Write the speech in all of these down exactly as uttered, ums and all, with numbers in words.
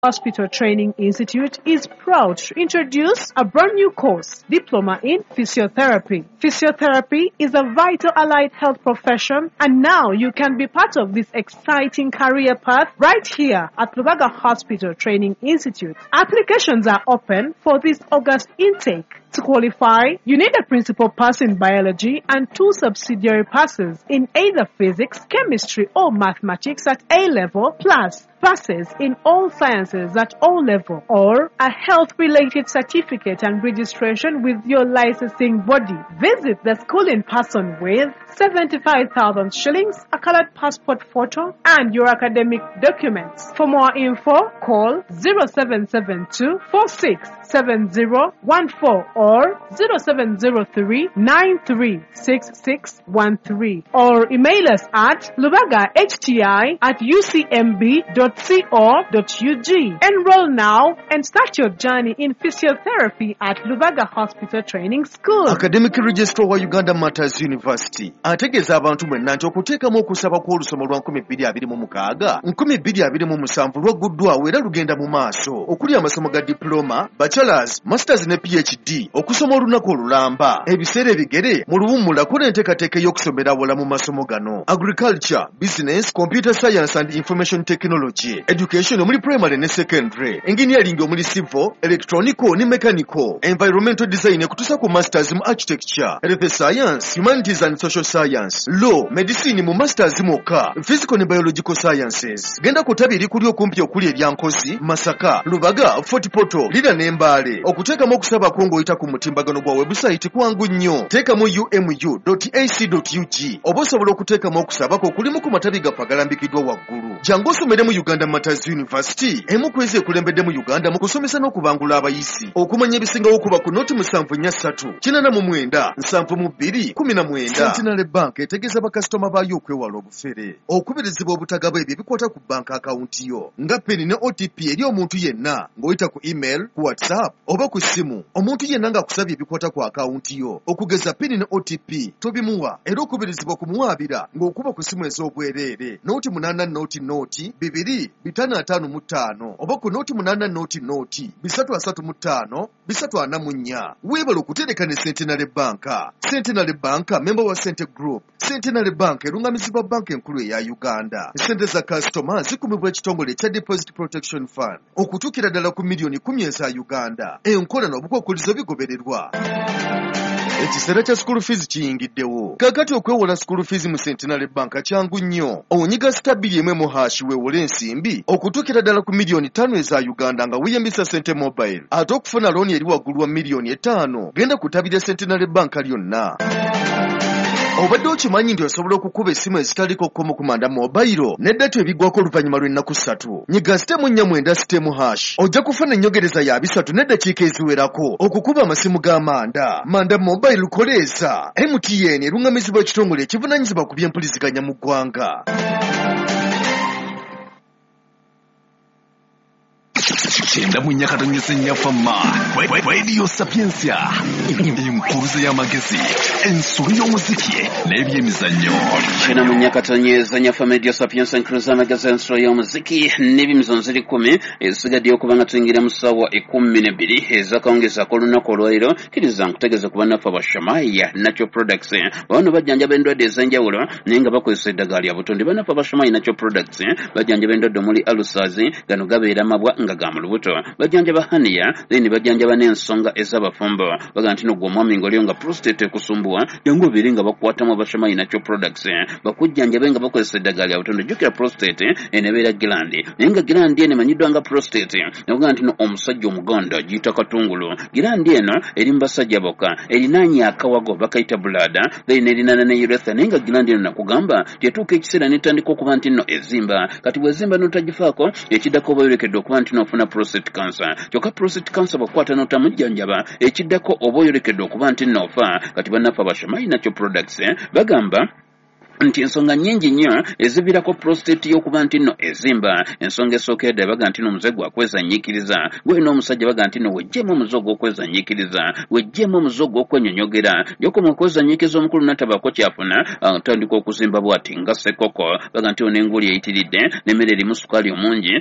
Hospital Training Institute is proud to introduce a brand new course, Diploma in Physiotherapy. Physiotherapy is a vital allied health profession, and now you can be part of this exciting career path right here at Lubaga Hospital Training Institute. Applications are open for this August intake. To qualify, you need a principal pass in biology and two subsidiary passes in either physics, chemistry or mathematics at A level, plus passes in all sciences at O level, or a health-related certificate and registration with your licensing body. Visit the school in person with seventy-five thousand shillings, a colored passport photo, and your academic documents. For more info, call zero seven seven two, four six seven zero one four or zero seven zero three, nine three six six one three, or email us at lubagahti at u c m b dot co dot u g. Enroll now and start your journey in physiotherapy at Lubaga Hospital Training School. Academic Registrar wa Uganda Martyrs University ategeeza abantu mwenna nti okuteekamu okusaba kw'olusoma lwa nkumi bbiri abiri mu mukaaga nkumi bbiri abiri mu musanvu lwagguddwawo era lugenda mu maaso, okuli amasomo ga diploma, bachelors, masters ne P H D, okusoma olunaku olulamba, ebiseera ebigere mu luwummula kola enteekateeka ey'okusomera awala mu masomo gano: agriculture, business, computer science and information technology, education omuli primary ne secondary, engineering omuli civil, electronical ne mechanical, environmental design ekutuusa ku masters mu architecture, health science, humanities and social science, law, medicine mu masters mwokka, physical ne biological sciences. Genda ku ttabi erikuli okumpi okuli erya Nkozi, Masaka, Lubaga, Fort Portal, Lira ne Mbale. Okuteekamu okusaba kwo ng'oyita ku mutimbagano gwa website kwangu nnyo. Teekamu u m u dot a c dot u g oba osobola okuteekamu okusaba kwo okulimu ku matabi gaffe agalambikiddwa waggulu. Jangu osomere mu Uganda Martyrs University, emu ku ezo ekulembedde mu Uganda mu kusomesa n'okubangula abayizi. Okumanya ebisingawo kuba ku noti musanvu nnya ssatu, kinaana mu mwenda, nsanvu mu bbiri, kumi na mwenda. Centenary Bank etegeeza bakasitoma baayo okwewala obufere, okubirizibwa obutagaba ebyo ebikwata ku banka akawunti yo nga PIN ne O T P eri omuntu yenna ng'oyita ku email, ku WhatsApp oba ku ssimu. Omuntu yenna ng'akusabye ebikwata ku akawunti yo okugeza PIN ne O T P tobimuwa, era okubirizibwa kumuwaabira ng'okuba ku ssimu ez'obwereere noti munaana noti noti bibiri bitaano ataano mu ttaano oba ku noti munaana noti noti bisatu asatu mu ttaano bisatu ana mu nnya. Weebale okutereka ne Centenary Bank. Centenary Bank member wa Cente Group. Centenary Bank erungamizibwa banka enkulu eya Uganda. Sente za kasitoma zikumibwa ekitongole ekya Deposit Protection Fund okutuukira ddala ku miliyoni kkumi eza Uganda. Enkola n'obukwakkulizo bigobererwa. Ekiseera kya school fees kiyingiddewo. Kaakati okwewola school fees mu Centenary Bank kyangu nnyo. Onyiga star bbiri emu emu hash weewole ensimbi okutuukira ddala ku miliyoni ttaano eza Uganda nga weeyambisa Sente Mobile. Ate okufuna looni eri waggulu wa miliyoni etaano, genda ku ttabi lya Centenary Bank lyonna. Obadde okimanyi nti osobola okukuba essimu ezitaliko kkomo ku Manda Mobile ne data ebiggwako oluvannyuma lw'ennaku ssatu. Nyiga sitemu nnya mwenda sitemu hash ojja kufuna ennyongereza ya bisatu n'eddakiika eziwerako okukuba amasimu ga Manda. Manda Mobile koleeza. M T N erungamizibwa ekitongole ekivunaanyizibwa ku by'empuliziganya mu ggwanga. Kyenda mu nnya katonyeze nnya fama Radio Sapientia, enkuruze y'amagezi, ensolo y'omuziki n'ebyemizannyo. Kyenda mu nnya katonyeze nnya fama Radio Sapientia, enkuruze y'amagezi, ensolo y'omuziki n'ebyemizannyo ziri kkumi ezisigaddeyo okuba nga tuyingira mu ssaawa ekkumi n'ebbiri ez'akawungeezi ak'olunaku olwaleero. Kkiriza nkutegeeze ku bannaffe aba Shamaya Natural Products. Bano bajjanjaba endwadde ez'enjawulo naye nga bakozesa eddagala lya butonde. Bannaffe aba Shamaya Natural Products bajjanjaba endwadde omuli ulcers, gano gabeera mabwa nga ga mu lubuto, bajjanjaba hernia, then bajjanjaba n'ensonga ez'abafumbo. Bagamba nti nogwo omwami ng'oliyo nga prostate ekusumbuwa, jangu obeere nga bakukwatamu aba Shamaya Natural Products bakujjanjabe nga bakozesa eddagala lya butonde. Jjukira prostate eno ebeera gland, naye nga gland eno emanyiddwa nga prostate. Nakugamba nti no omusajja omuganda agiyita katungulu. Gland eno eri mu basajja bokka, erinaanye akawago bakayita bladder, then erinaana ne urethra. Naye nga gland eno nakugamba tetuuka ekiseera n'etandika okuba nti nno ezimba. Kati bw'ezimba n'otagifaako, ekiddako oba oyolekedde okuba nti n'ofuna prostate cancer. Kyokka prostate cancer bw'okwata n'otamujjanjaba, ekiddako oba oyolekedde okuba nti n'ofa. Kati bannaffe aba Shamaya Natural Products bagamba Nti ensonga nnyingi nnyo eziviirako prostate y'okuba nti nno ezimba. Ensonga esookera ddala baga nti nno omuze gwakwezanyiikiriza. Gwolina omusajja baga nti nno weggyemu omuze ogw'okwezanyiikiriza, weggyemu omuze ogw'okwenyonyogera. Gy'okoma okwezanyiikiriza omukulu n'atabaako ky'afuna, atandika okuzimba bw'ati nga ssekoko. Baga nti ono enguli eyitiridde, n'emmere erimu sukaali omungi,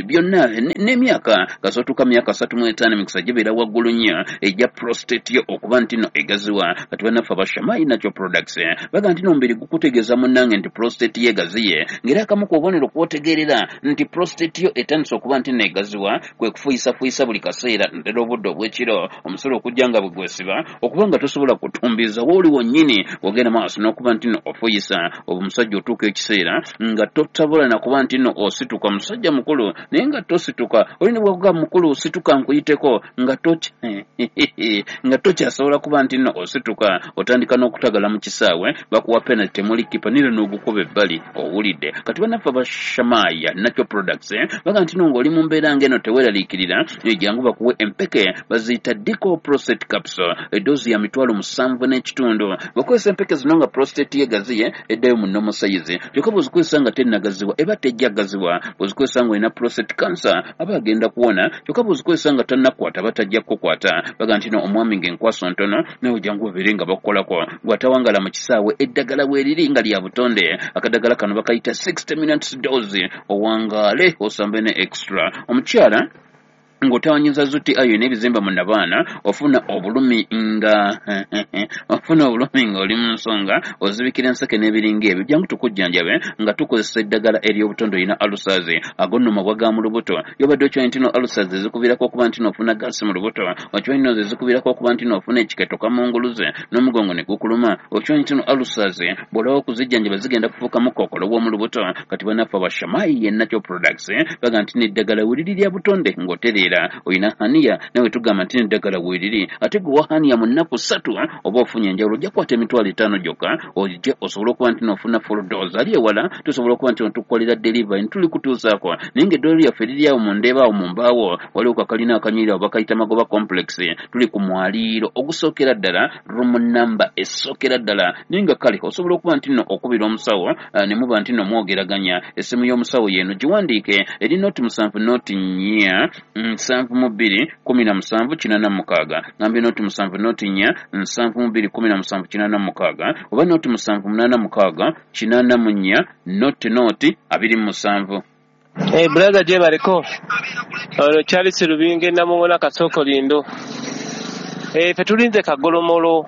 byonna n'emyaka kasootuuka myaka asatu mu etaano emikisa gibeera waggulu nnyo ejja prostate yo okuba nti nno egaziwa. Kati bannaffe aba Shamai Natural Products baga nti nno omubiri kutegeeza munnange nti prostate ye egaziye, ng'era akamu ku bubonero kw'otegeerera nti prostate yo etandise okuba nti nno egaziwa kwe kufuyisafuuyisa buli kaseera naddala obudde obw'ekiro, omusolo okujja nga bwe gwesiba okuba nga tosobola kutumbiza wooli wonnyini ogenda maaso n'okuba nti nno ofuyisa. Oba omusajja otuuka ekiseera nga totabola na kuba nti nno osituka, musajja mukulu naye nga tosituka, oli ne bw'akugamba mukulu situka nkuyiteko nga tokya nga tokyasobola kuba nti nno osituka, otandika n'okutagala mu kisaawe, bakuwa penalty temuli kipa nire n'ogukuba ebbali owulidde. Kati bannaffe aba Shamai Natural Products baga nti nno ng'oli mu mbeera ng'eno teweeraliikirira, jangu bakuwe empeke baziyita Dico Prostate Capsule, eddoozi ya mitwalo musanvu n'ekitundu. Bw'okozesa empeke zino nga prostate ye egaziye eddayo mu normal size, kyokka bw'ozikozesa nga tennagazibwa eba tejja gazibwa. Bw'ozikozesa ng'olina prostate cancer aba agenda kuwona, kyokka bw'ozikozesa nga tannakwata aba tajja kukukwata. Baga nti nno omwami ng'enkwaso ntono nawe jangu babeere nga bakukolako, gw'atawangala mu kisaawe eddagala weeriri nga lya butonde. Akadagala kano bakayita sixty minutes dose, owangaale osambe ne extra. Omukyala ng'otawanyiza zuti ayo n'ebizimba mu nabaana, ofuna obulumi nga ofuna obulumi ng'oli mu nsonga, ozibikira enseke n'ebiringa ebyo, jangu tukujjanjabe nga tukozesa eddagala ery'obutonde. Olina ulcers, ago nno mabwa ga mu lubuto, yobadde okimanyi nti no ulcers ezikuviirako okuba nti n'ofuna gaasi mu lubuto, okimanyi nno ezikuviirako okuba nti n'ofuna ekiketo kamunguluze n'omugongo ne gukuluma, okimanyi nti no ulcers bw'olaba okuzijjanjaba zigenda kufuukamu kookolo w'omu lubuto. Kati bannaffe aba Shamai Natural Products baga nti n'eddagala weriri lya butonde ng'otereera. Olina haniya nawe tugamba nti n'eddagala weeriri, ate gwe wa haniya mu nnaku ssatu oba ofunye enjawulo, ojja kukwata emitwalo etaano gyokka ojje osobole okuba nti n'ofuna full dose. Ali ewala tusobola okuba nti tukukolera delivery ntuli kutuusaako, naye ng'eddwaliro lyaffe liri awo mu Ndeeba awo mu mbaawo, waliwo kakalina akanyirira awo bakayita Magoba Complex, tuli ku mwaliiro ogusookera ddala, room number esookera ddala. Naye nga kale osobola okuba nti nno okubira omusawo ne muba nti nno mwogeraganya. Essimu y'omusawo yeeno giwandiike, eri noti musanvu noti nnya nsanvu mu bbiri kumi na musanvu kinaana mu mukaaga. Ngambye noti musanvu noti nnya nsanvu mu bbiri kumi na musanvu kinaana mu mukaaga, oba noti musanvu munaana mukaaga kinaana mu nnya noti noti abiri mu musanvu. Hey, brother gyebaleko ono Charles Lubinga Namuŋŋoona Kasoko Lindo. Eh, ffe tulinze kagolomolo.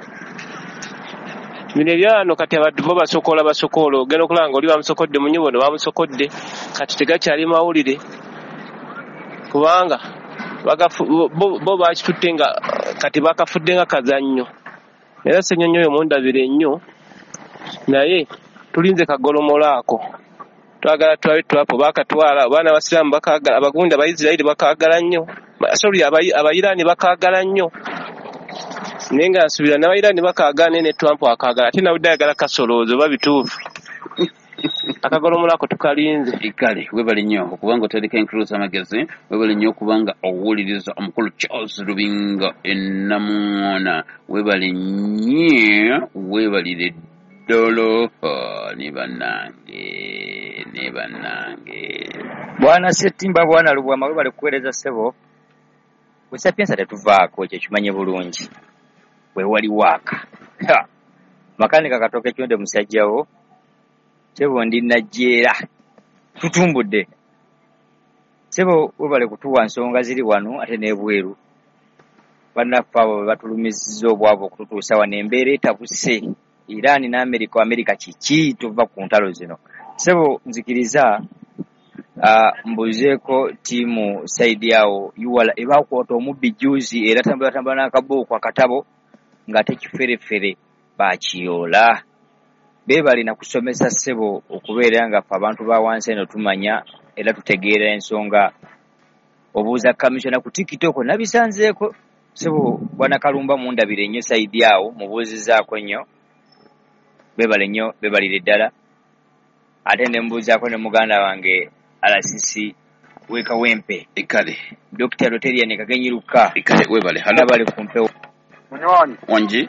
Bino ebyano kati abantu bo basokola basokola, ogenda okulaba nga oli bamusokodde mu nnyumba ono bamusokodde, kati tegakyali mawulire kubanga bagafu bo, bo bakitutte nga kati bakafudde nga kazannyo. Era Ssenyonyi oyo mundabire nnyo, naye tulinze kagolomolo ako. Twagala tulabe tulapo bakatwala, abaana abasiraamu bakaagala, abagunda Abayisirayiri bakaagala nnyo, sorry Abayiraani bakaagala nnyo, naye nga nsuubira n'Abayiraani bakaagala naye ne Trump akaagala, ate nabudde ayagala kasolooza oba bituufu. Akagolomolo ako tukalinze. Kale webale nnyo okubanga otandika enkuluza amagezi, webale nnyo okubanga owuliriza omukulu Charles Lubinga Namuŋŋoona, webale nnyo, weebalire ddala ne bannange ne bannange. Bwana Ssettimba, bwana Lubwama, webale kuweereza ssebo. Ku Sapienza tetuvaako, ekyo kimanye bulungi. Weewali waaka. Makanika Katooke Kyonde musajjawo, ssebo ndi Najjeera, tutumbudde. Ssebo webale kutuwa nsonga ziri wano ate n'ebweru. Bannaffe abo be batulumizizza obwavu okututuusa wano, embeera etabuse. Iran ne America, America kiki tuva ku ntalo zino. Ssebo nzikiriza uh, mbuuzeeko ttiimu sayidi awo yuwala ebakwata omubbi jjuuzi era tambulatambula n'akabuuku akatabo ng'ate kiferefere bakiyoola. Beebale na kusomesa ssebo okubeera nga ffe abantu ba wansi eno tumanya era tutegeera ensonga. Obuuza kamisona ku TikTok nabisanzeeko ssebo bwana Kalumba mundabire nnyo sayidi awo mubuuzizaako nnyo. Beebale nnyo, beebalire ddala. Ate ne mbuuzaako ne muganda wange R C C w'e Kawempe. Kale. Dokita Roterian Kagenyi Luka. Kale webale. Halo. Webale ku mpewo. Munywanyi. Wangi.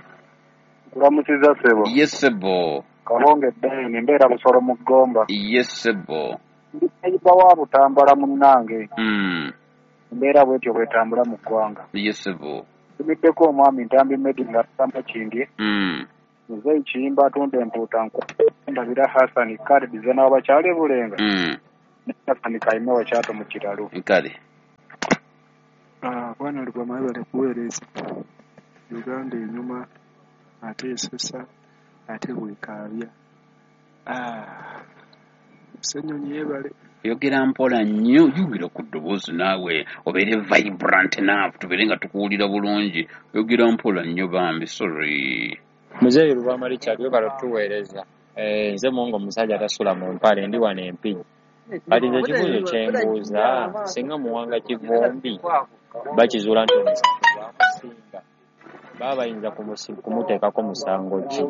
Nkulamusiza ssebo. Yes ssebo. Kabonge Ben, mbeera Busolo mu Ggomba. Yes sebo. Ndi wa Butambala munnange. Mm. Embeera bwetyo bwetambula mu ggwanga. Yes sebo. Tumiddeko omwami Ntambi Medi ng'asamba Kingi. Mm. Muzeeyi Kiyimba atunda empuuta nku. Ndabira Hassan Khalid Zena w'abakyala e Bulenga. Mm. Ne Hassan Kayima wa Kyato mu Kiralu. Kale. Ah, bwana Lubwama webale kuweereza. Uganda enyuma ate esesa ate bwekaabya. Ah, Ssenyonyi yeebale. Yogera mpola nnyo, yogera ku ddoboozi naawe obeere vibrant enough tubeere nga tukuwulira bulungi. Yogera mpola nnyo bambi, sorry. Muzeeyi Lubwama Richard webale otuweereza. Eh, nze Mungu omusajja atasula mu mpale, ndi wano Empigi. Kati nze ekibuuzo kye mbuuza, singa Muwanga Kivumbi bakizuula nti omusango gwamusinga, baba bayinza kumuteekako musango ki?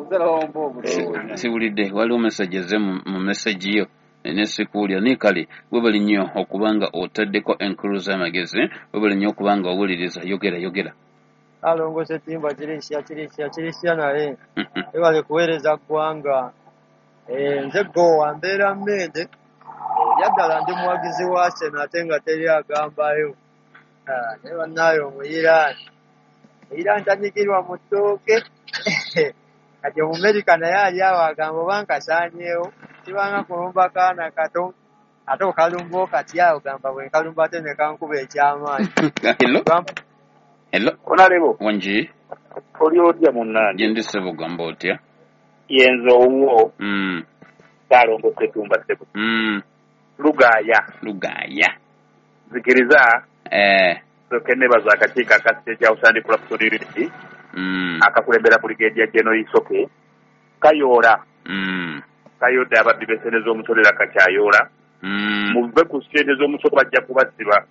Siwulidde, waliwo message eze mu message yo ne sikuwulira. Naye kale webale nnyo okubanga otaddeko enkulu z'amagezi, webale nnyo okubanga owuliriza. Yogera yogera. Alongo Ssetimba kirisya kirisya kirisya naye webale kuweereza ggwanga. Eh, nze Gowa mbeera Mmende, eby'addala ndi muwagizi wa Arsenal ate nga teri agambayo. Naye bannaayo Omuyiraani, Omuyiraani tanyigirwa mu ttooke. Kati Omumerika naye ali awo agamba oba nkasaanyeewo, kibanga kulumba kaana kato, ate okalumba okatya ogamba bwe nkalumba ate ne kankuba ekyamaanyi. Hello? Hello? Onalebo. Wangi? Oli otya munnange? Gye ndi ssebo, gamba otya? Yenze owuwo. Mm. Ssaalongo Ssetumba ssebo. Mm. Lugaaya. Lugaaya. Nzikiriza. Eh. Nsooke nneebaza akakiiko aka State House and Corruption Unit. Mm. Akakulembera Brigadier General Isoke. Kayoola. Mm. Kayodde ababbi b'essente z'omusolo era kakyayoola. Mm. Muve ku ssente z'omusolo bajja kubasiba.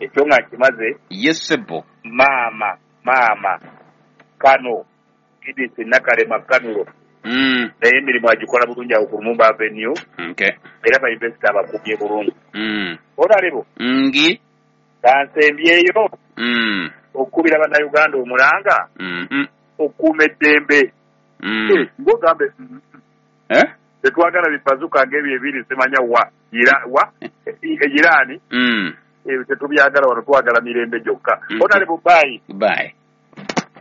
Ekyo nga nkimaze. Yes ssebo. Maama, maama. Kano Edith Nakalema Kanulo. Mm. Naye emirimu agikola bulungi awo ku Lumumba Avenue. Okay. Era ba investor abakumye bulungi. Mm. Onalebo. Ngi. Kansembyeyo. Mm. Okukubira bannayuganda omulanga. Mm. Okukuuma eddembe. Mm. Eh, ng'ogambe. Eh? Tetwagala bibazuka ng'ebyo ebiri simanya wa Ira, wa Irani. Mm. Ebyo tetubyagala wano, twagala mirembe gyokka. Mm. Onalebo, bye. Bye.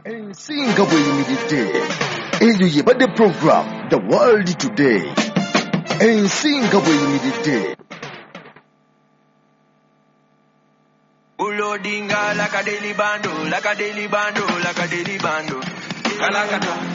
Ensi nga bw'eyimiridde. Eyo yebadde program The World Today. Ensi nga bw'eyimiridde. Ulodinga like a daily bando, like a daily bando, like a daily bando. Kalakata.